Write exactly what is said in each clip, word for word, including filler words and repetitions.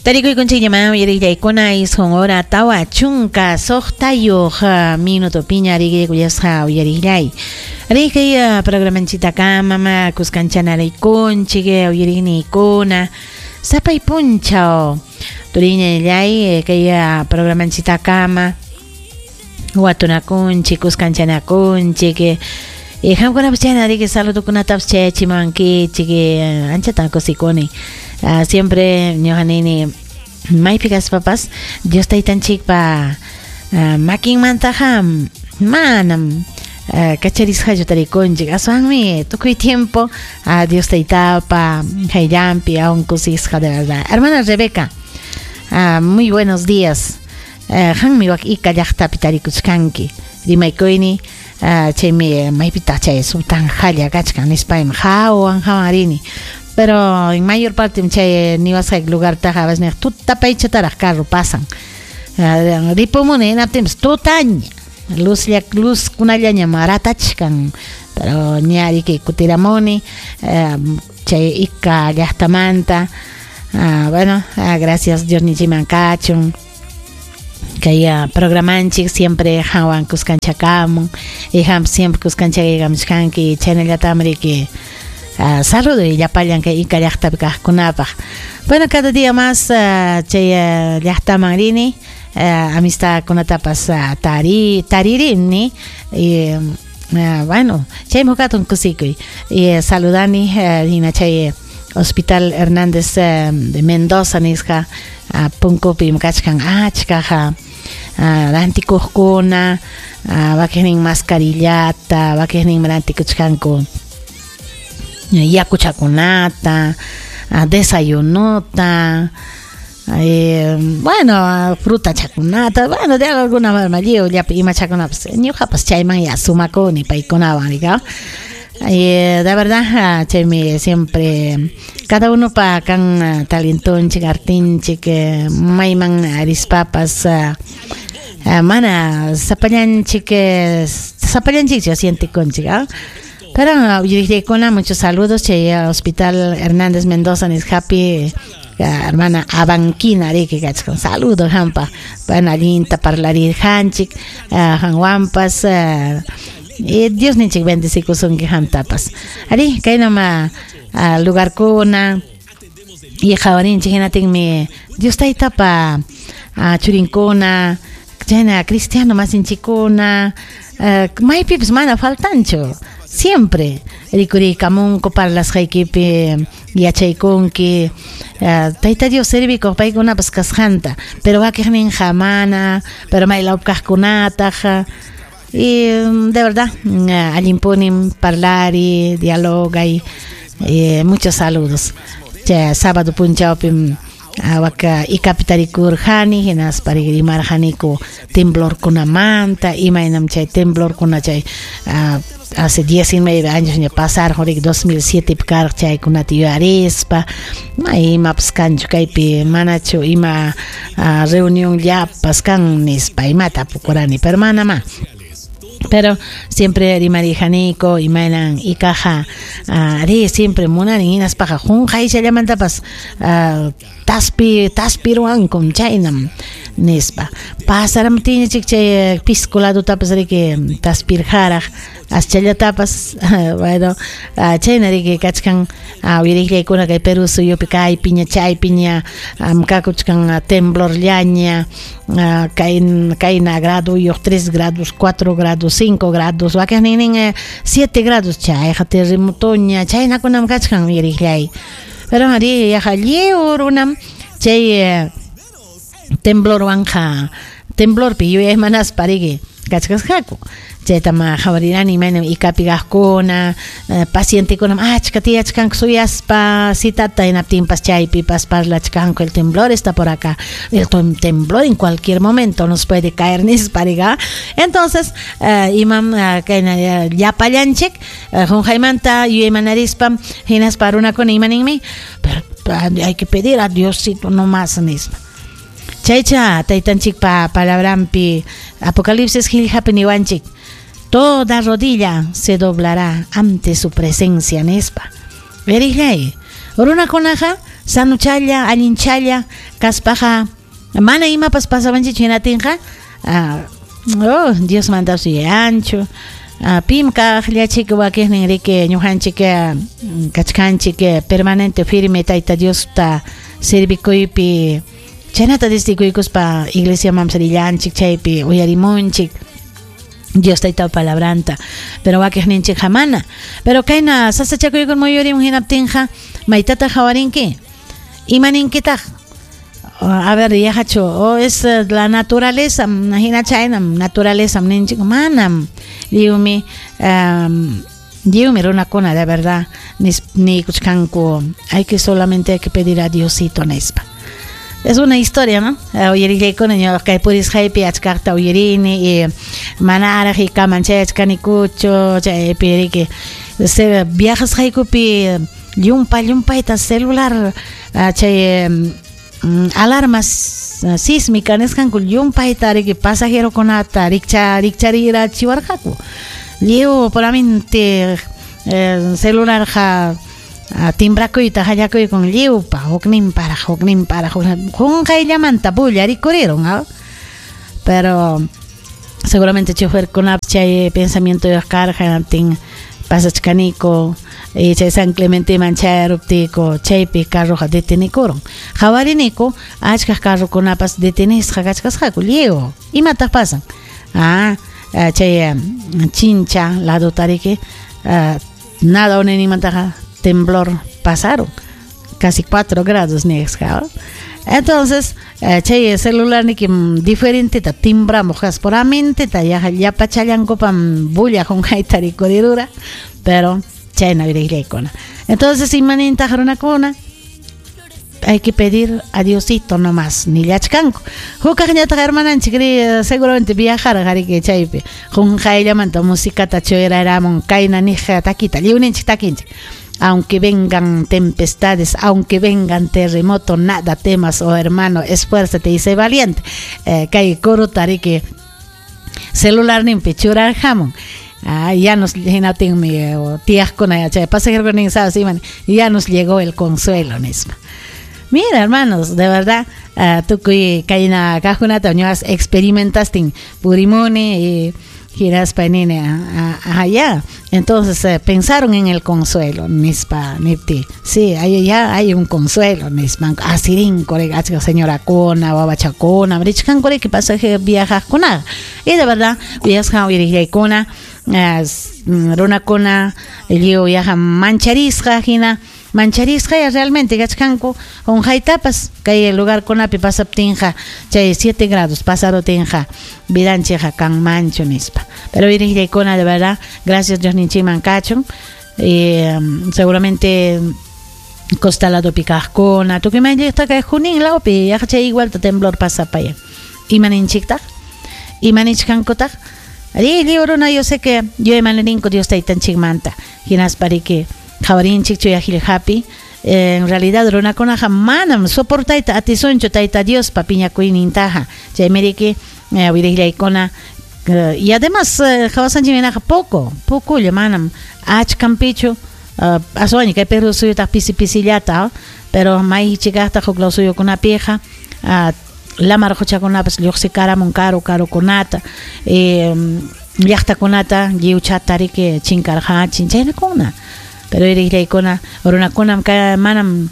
Tarikuykunchikñaman uyariqllaykuna isqun hora tawa chunka suqtayuq minuto piña riqiykullasqa uyariqllay. Riqay programanchitakama mama kuskanchalaraykunchik uyariqniykuna sapay punchaw turiñallay kay programanchitakama watunakunchik kuskanchanakunchik y qamkunapas chayna riki saludokunatapas chayachimuwankichik anchatan kusikuni. Uh, siempre ñuqa nini maypi kaspapas Dios taytanchikpa uh, makinmantaqa manam uh, kacharisqachu tarikunchik aswanmi tukuy tiempo uh, Dios taytapa hayllampi aún kusisqa de verdad. Hermana Rebeca, uh, muy buenos días. Uh, qanmi wak ika llaqtapi tarikuchkanki rimaykuyni uh, chaymi maypitaq chay sultanjalla kachkan nispaymi hawan hawan rini. Pero en mayor parte chay niwasqayki lugartaqa a veces tutapaychataraq carro pasan. Uh, ripumuni hinaptinpas tutaña luzlla luzkunallañam ratachkan pero ña riki kutiramuni uh, chay ika llaqtamanta. Uh, bueno, uh, gracias Dios nichiman kachun. Kay uh, programanchik siempre hawan kuskanchakamun y ham siempre kuskanchakamuchkanki chaynallatam riki. Uh, saludo y llapallan kay ika llaqtapi kaqkunapaq. Bueno, cada día más uh, chay uh, llaqtaman rini uh, amistadkunatapas uh, tari taririni y uh, bueno, chaymi huk hatun kusikuy y uh, saludani uh, hina chay Hospital Hernández uh, de Mendoza nisqa uh, punkupim kachkan achkaqa uh, rantikuqkuna uh, wakiqnin mascarillata wakiqnin rantikuchkanku yakuchakunata, desayunota, eh, bueno, frutachakunata, bueno, de alguna forma lliw llapa imachakunapas ñuqapas chayman ya sumakuni paykunawan rika. Eh, de verdad, chaymi siempre cada uno pa kan talentonchik, artinchik, mayman rispapas uh, mana sapallanchik, sapallanchik sientikunchik, ¿ah? Pero uyariqllaykuna muchos saludos chay Hospital Hernández Mendoza nisqapi hermana Abanquina riki kachkan saludo hampa bueno allinta parlarirqanchik qanwanpas y Dios ninchik bendecikusunki qamtapas ari kaynama lugarkuna y qhawarinchik hinatinmi Dios taytapa churinkuna chayna cristiano masinchikkuna maypipas mana faltanchu. Siempre rikuriykamunku parlasqaykipi yachaykunki uh, Tayta Dios servikuq paykunapas kasqanta pero wakiqninqa mana pero maylawpi kaqkunataq y de verdad uh, allinpunim parlari dialogay eh, muchos saludos chay sábado punchawpim waka ikapi tarikurqani hinaspa rimarqaniku temblorkunamanta imaynam chay temblorkuna chay uh, hace diecinueve años ña pasarqun riki dos mil siete pi karqa chaykunata yuyarispa may imapas kanchu kaypi manachu ima uh, reunión llapas kan nispa imata tapukurani pero manamá. Pero siempre rimarijaniku imaynan ikaqa uh, ri siempre munani hinaspaqa qunqayllamantapas uh, taspi taspiruwankum chaynam nispa pasaramtinchik chay pisco ladutapas riki taspirqaraq aschallatapas bueno uh, chayna riki kachkan uh, uyariqllaykuna kay Perú suyupi kaypiña chaypiña um, kakuchkan uh, temblorllaña uh, kay kayna graduyuq tres grados cuatro grados cinco grados wakiqninnin eh, siete grados chayqa terremotoña chaynakunam kachkan uyariqllay pero ari yaqa lliw runam chay eh, temblorwanqa temblorpi yuyaymanaspa riki kachkasqaku chaytam qhawarirani imaynam ikapi kaqkuna uh, pacientekunam achka tiyachkanku suyaspa citata hinaptinpas chaypipas parlachkanku el temblor está por acá el temblor en cualquier momento nos puede caer nispa riqa entonces uh, imam uh, kayna llapallanchik uh, qunqaymanta yuyaymanarispa hinaspa runakuna imaninmi pero hay que pedir a Diosito nomás nispa. Chaycha taytanchikpa palabrampi Apocalipsis qillqapi niwanchik toda rodilla se doblará ante su presencia nispa. Veriqllay runakunaqa Sanuchalla, allinchalla kaspaqa mana imapas pasawanchikchu hinatinqa oh, Dios mandasu ancho. Pim kaqllachik wakiqnin riki ñuqanchik kachkanchik permanente firme Tayta Diosta servikuypi chaynata destikuykuspa iglesiaman rillanchik chaypi uyarimunchik Dios tayta palabranta pero wakiqninchik hamana pero kayna sasachakuykun muyurimun hinaptinqa maytataq hawarinki imaninkitaq a ver yahachu o es la naturaleza hina chaynam naturaleza ninchik manam lliwmi um, lliwmi runakuna de verdad nikuchkanku hay que solamente hay que pedir a Diosito nispa. Es una historia, ¿no? Uyarillaykuna ñuqa kay purisqaypi achkaqta uyarini y manaraq ikaman chayachkanikuchu chaypi riki se viajasqaykupi llumpa llumpayta celular chay alarmas sísmica nisqanku llumpayta riki pasajerokunata rikcha rikcharirachiwarqaku lliw puramente celularqa timbrakuyta hallakuykun lliwpa hukninparaq hukninparaq qunqayllamanta bulla rikurirun pero seguramente choferkunapas chay pensamientoyuq karqa hinaptin pasachkaniku y chay San Clementeman chayaruptiyku chaypi carroqa detenikurun hawariniku achkaq carrokunapas detenisqa kachkasqaku lliw imataq pasan ah chay chincha ladota riki nada uninimantaqa temblor pasaron casi cuatro grados nisqa. Entonces chay celular niki diferente ta timbramos puramente ta llapachallankupam bulla qunqayta rikurirura pero chayna wirayllaykuna. Entonces imanintaq runakuna hay que pedir a Diosito nomás nillachkanku hukaqñataq hermananchik ri seguramente viajarqa riki chaypi qunqayllamanta musicata churaramun kayna niq takita lliwninchik takinchik. Aunque vengan tempestades, aunque vengan terremotos, nada temas, oh hermano, esfuérzate y sé valiente. Eh, kay kuruta riki celular nimpi churarjamun. Ah, ya nos hinatinmi tiyaqkuna chay pasajerokunan sabes iman ya nos llegó el consuelo nispa. Mira, hermanos, de verdad, uh, tukuy kayna kaqkunata ñuqas experimentastin purimuni y hinaspa nini allá. Entonces eh, pensaron en el consuelo nispa nipti. Sí, ahí ya hay un consuelo nispa. Asirin kore achka señorakuna, wawachakuna, richkankuri que pasaje viajaqkuna. Y de verdad, viajan uyarillaykuna, runakuna lliw yaqa mancharisqa hina mancharisqa ya realmente kachkanku qunqaytapas kay lugarkunapi pasaptinqa chay siete grados pasarutinqa vidanchikqa kanmanchu nispa. Pero wirillaykuna de verdad, gracias Dios ninchikman kachun eh, seguramente costa ladopi kaqkuna tukuy mayllaqta kay Junín lawpi yaqa chay igualta temblor pasapaya imaninchiktaq imanichkankutaq ri lliw runa yo sé que yo imanirinku Dios taytanchikmanta hinaspa riki qhawarinchik chuyaqillqapi en realidad runakunaqa manam soportayta atisunchu Tayta Diospa piñakuynintaqa chaymi riki wirillaykuna y además qhawasanchik hinaqa poco pocolla manam achkanpichu aswanña kay Perú suyutaq pisi pisillata pero maychikaqtaq huk law suyukunapiqa lamar quchakunapas lluqsikaramun karu karukunata llaqtakunata lliwchata riki chinkarqachin chaynakuna. Pero irillaykuna runakunam manam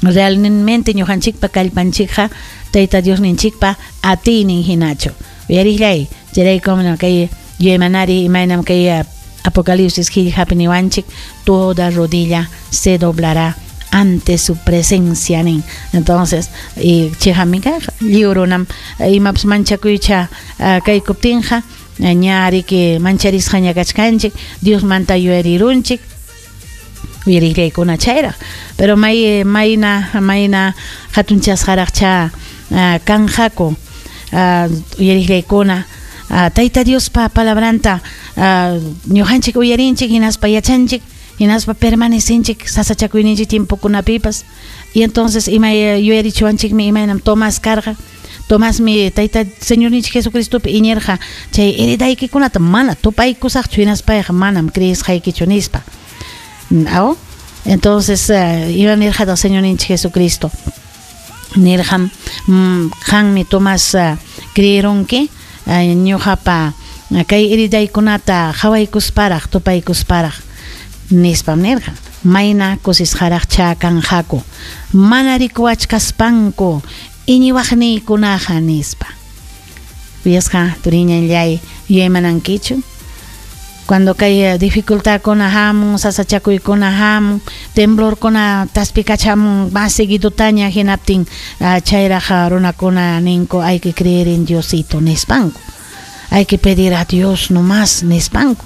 realmente ñuqanchikpa kallpanchikqa Tayta Diosninchikpa atiynin hinachu. Uyarillay chayraykum kay yuyaymanari imaynam kay Apocalipsis qillqapi niwanchik toda rodilla se doblará ante su presencia nin. Entonces y chayqami kaq lliw runam imapas manchakuycha kaykuptinqa ña riki mancharisqaña kachkanchik Diosmanta yuyarirunchik uyarillaykuna chayraq pero may mayna mayna hatunchasqaraqcha kanqaku uyarillaykuna Tayta Diospa palabranta ñuqanchik uyarinchik hinaspa yachanchik hinaspa permanecinchik sasachakuyninchik tiempokunapipas y entonces ima yuyarichiwanchikmi imaynam Tomás karqa Tomásmi Tayta Señorninchik Jesucristopi iñirqa chay heridaykikunata mana tupaykusaqchu hinaspayqa manam creesqaykichu nispa. Aw Entonces uh, ima nirqataq Señorninchik Jesucristo nirqam mm, qanmi Tomás uh, creerunki uh, ñuqapa uh, kay heridaykunata qhawaykusparaq tupaykusparaq nispam nirqa. Mayna kusisqaraqcha kanqaku mana rikuwachkaspanku iñiwaqniykunaqa nispa. Uyasqa turiñanllay yuyaymanankichu cuando kay dificultadkuna hamun, sasachakuykuna hamun, temblorkuna taspikachamun más seguidutaña hinaptin uh, chayraq runakuna ninku hay que creer en Diosito nispanku, hay que pedir a Dios nomás nispanku.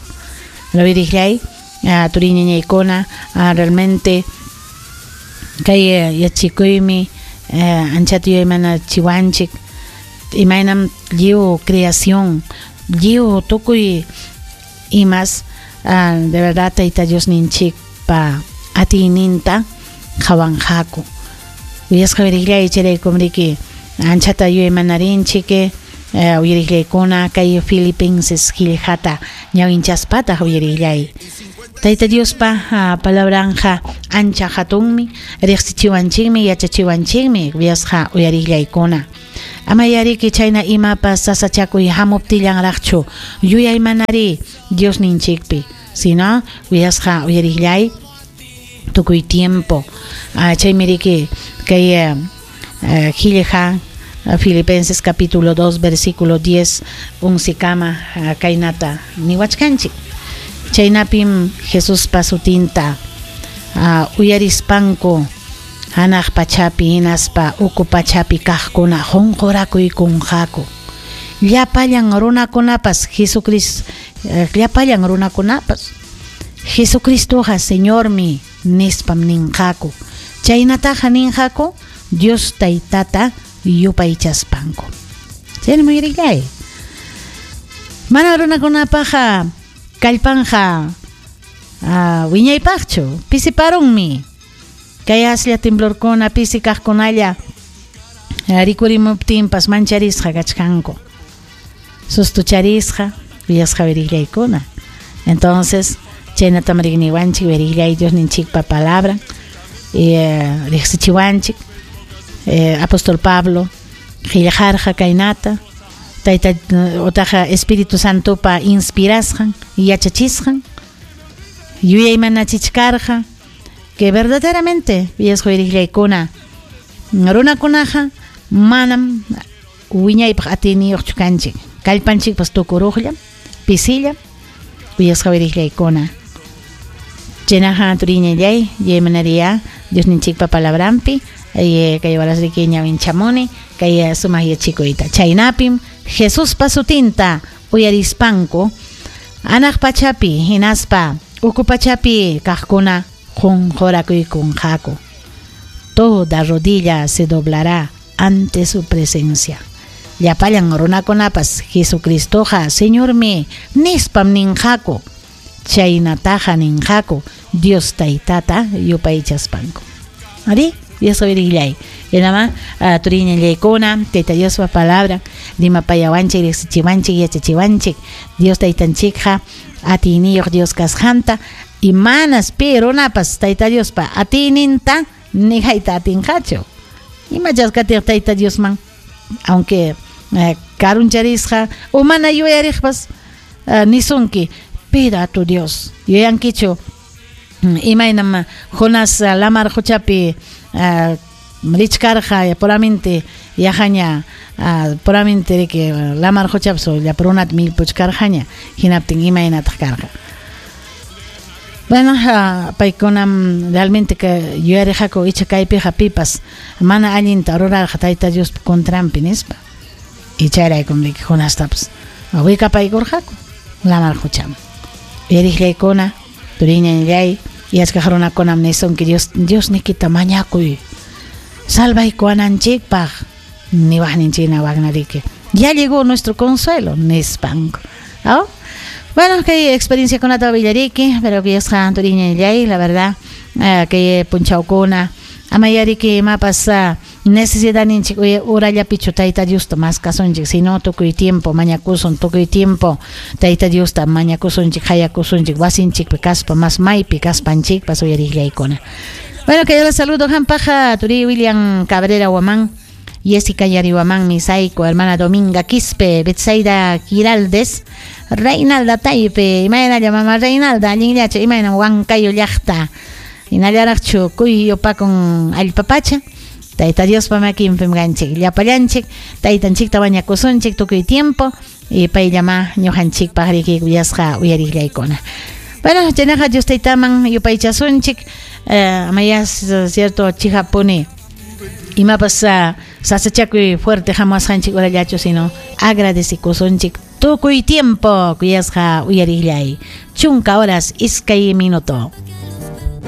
Lo wirillay uh, turiñañaykuna uh, realmente kay uh, yachikuymi uh, anchata yuyaymanachiwanchik imaynam lliw creación lliw tukuy imas uh, de verdad Tayta Dios ninchikpa atiyninta qhawanqaku. Uyasqa wirillay chayraykum riki anchata yuyaymanarinchik uh, uyarillaykuna kay Filipenses qillqata ñawinchaspataq uyarillay. Tayta Diospa uh, palabranja ancha hatunmi riqsichiwanchikmi yachachiwanchikmi uyasqa uyarillaykuna. Ama yariki chayna imapas sasachakuy hamuptillanraqchu yuyaymanari Dios ninchikpi, sino uyasqa uyarillay tukuy tiempo. Uh, chaymi riki kay uh, qillqa uh, Filipenses capítulo dos versículo diez unsikama uh, kaynata niwachkanchik. Chaynapim Jesuspa sutinta uh, uyarispanku hanaq pachapi hinaspa uku pachapi kaqkuna qunqurakuykunqaku. Llapallan runakunapas Jesucristo eh, llapallan runakunapas Jesucristoqa Señormi nispam ninqaku. Chaynataqa ninqaku Dios Taytata yupaychaspanku. Chayna muyarillay. Mana runakunapaqa kallpanja uh, wiñaypaqchu pisiparunmi. Kay aslla temblorkuna pisi kaqkunalla rikurimuptinpas mancharisqa kachkanku, sustucharisqa uyasqa wirillaykuna. Entonces chaynatam riqniwanchik wirillay Dios ninchikpa palabra eh, riqsichiwanchik eh, apóstol Pablo qillqarqa kaynata tayta utaqa Espíritu Santopa inspirasqan yachachisqan yuyaymanachichkarqa que verdaderamente uyasqa wirillaykuna runakunaqa manam wiñaypaq atiyniyuqchu kanchik kallpanchikpas tukuruqllam pisillam uyasqa wirillaykuna. Chaynaqa turiñallay yuyaymanariya Dios ninchikpa palabranpi kay warasriki ñawinchamuni kay sumaq yachikuyta. Chaynapim Jesuspa sutinta uyarispanku anaq pachapi hinaspa uku pachapi kaqkuna qunqurakuykunqaku. Toda rodilla se doblará ante su presencia. Llapallan runakunapas Jesucristoqa Señormi nispam ninqaku. Chaynataqa ninqaku Dios Taytata yupaychaspanku. Ari, Dios wirillay. Yanama turiñallaykuna Tayta Diospa palabra rimapayawanchik riqsichiwanchik yachachiwanchik Dios Taytanchikqa atiyniyuq Dios kasqanta y manas pi runapas Tayta Diospa atiyninta nijayta atinqachu. Imachasqatiq Tayta Diosman aunque eh, karuncharisqa o mana yuyariqpas uh, nisunki pida a tu Dios. Yuyankichu imaynam Jonás lamar quchapi uh, richkarqa puramente yaqaña uh, puramente riki lamar quchapi llapa runata millpuchkarqaña hinaptin imaynataq karqa. Bueno, uh, paykunam realmente que yuyariqaku icha kaypiqa pipas mana allinta rurarqa Tayta Diospa contranpi nispa. Y chayraykum riki Jonastapas wikapaykurqaku lamar quchaman. Uyariqllaykuna turiñanllay yachkaq runakunam nisunki Dios Dios nikita mañakuy salvaykuwananchikpaq niwaqninchikna waqnariki ya llegó nuestro consuelo nispanku. ¿Oh? Bueno, kay experienciakunata willariki, pero que yasqa turiñanllay, la verdad, uh, kay punchawkuna amayariki imapas uh, Necesidadninchik urallapichu Tayta Diosta maskasunchik, sino tukuy tiempo mañakusun, tukuy tiempo Tayta Diosta mañakusunchik, hayakusunchik, wasinchikpi kaspa, mas maypi kaspanchikpas uyariqllaykuna. Bueno, que yo les saludo, hampaja, Turi William Cabrera Huamán, Jessica Yarihuamán Misaico, hermana Dominga Quispe, Betsaida Giraldes, Reinalda Taipe, imaynalla mamá Reinalda, allinllachu, imayna Huancayo llaqta, hinallaraqchu kuyupakun allpapacha, Tayta Diospa makinpim kanchik, llapallanchik, taytanchikta mañakusunchik tukuy tiempo, y payllama ñuqanchikpaq riki kuyasqa uyariqllaykuna. Bueno, chaynaqa Dios taytaman yupaychasunchik, eh, amayas cierto chihapuni imapas uh, sasachakuy fuerte hamuwasqanchik urallachu, sino agradecikusunchik tukuy tiempo kuyasqa uyariqllay. Chunka horas iskay minuto.